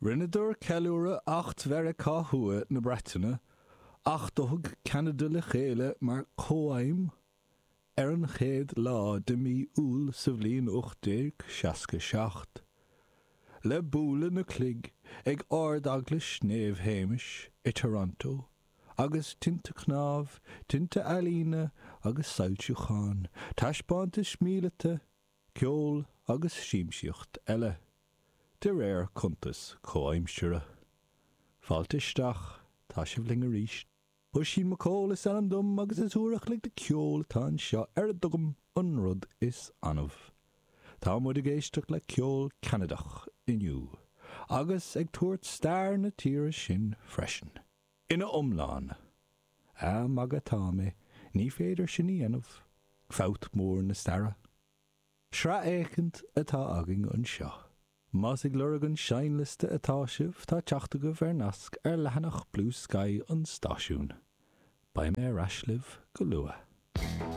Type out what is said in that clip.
Rinneadar ceiliúradh Acht Mheiriceá Thuaidh na Breataine, acht a thug Ceanada le chéile mar chomhaidhm, ar an chéad lá de mhí Iúil sa bhliain 1867, le bualadh na cloig ag Ard-Eaglais Naomh Shéamais i Toronto agus tinte cnámh, tinte ealaíne agus soilsiúcháin, taispeántais míleata, ceol agus siamsaíocht eile, de réir cuntas comhaimsire. Fáilte isteach, tá sibh linn arís. Oisín McCall is ainm dom agus is uair a chloig de ceol atá anseo ar a dtugaim an rud is annamh. Tá muid ag éisteacht le ceol Ceanadach inniu agus ag tabhairt stair na tíre sin freisin. Ina iomlán. Á, magadh atá mé, ní féidir sin a dhéanamh. Fabht mór na staire. Sraith éicint atá againn anseo. Más ag lorg an seinnliosta atá sibh, tá teacht agaibh ar nasc ar leathanach Bluesky an stáisiúin. Beidh mé ar ais libh go luath.